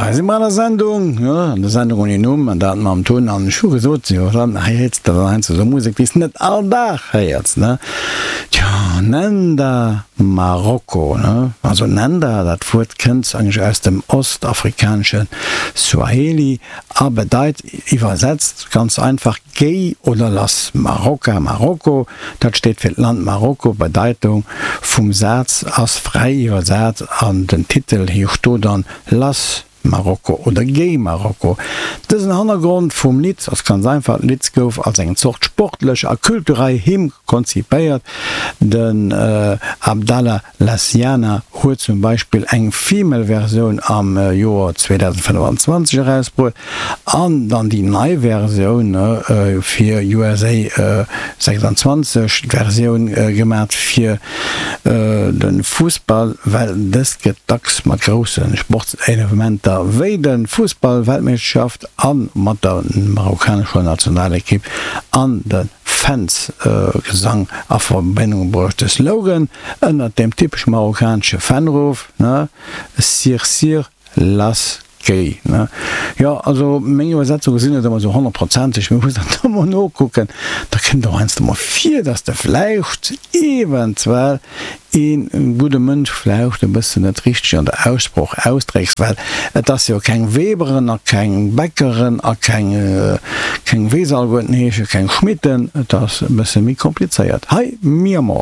Hei si mer an der Sendung, jo, an der Sendung ouni Numm, an dat mam Tun. An ech hu gesot, jo, dann hei héiers de dann heiansdo esou Musek, déi s de net all Dag héiers, ne? Tjo, Nenda Marokko, ne? Also Nenda, dat Wuert kënnt eigentlech aus dem ostafrikanesche Swahili a bedeit iwwersetzt ganz einfach Géi oder lass. Marokka, Marokko, dat steet fir d'Land Marokko. D'Bedeitung vum Saz ass fräi iwwersat an den Titel heescht do dann Lass Marokko oder Géi Marokko. Dësen Hannergrond vum Lidd ass ganz einfach, D'Lidd gouf als eng Zort sportlech a kulturell Hymn konzipéiert. Den Abdallah Lassiana huet zum Beispill eng Female Versioun am Joer 2025 erausbruet an dann déi nei Versioun fir USA 26, d'Versioun gemat fir de Fussball, well dëst gëtt dacks mat grousse Sportsevenementer wéi de Fussball-Weltmeeschterschaft a mat der marokkanescher Nationalekipp an de Fans Gesang a Verbindung bruecht. De Slogan ënnert dem typesch marokkanesche Fanruff, ne, Sir sir las gay, ne. Jo, also meng Iwwersetzunge sinn net ëmmer esou honnertprozenteg, mee muss dat emol nokucken. Da kënnt och heiansdo mol vir, dass de vläicht eventuell een gudde Mënsch vläicht e bëssen net richteg an der Aussprooch ausdrécks, well et ass jo keng Weberen a keng Bäckeren a keng, keng wéi se alleguerten heeschen, keng Schmitten, et ass e bësse méi komplizéiert. Hei, Mi Amor.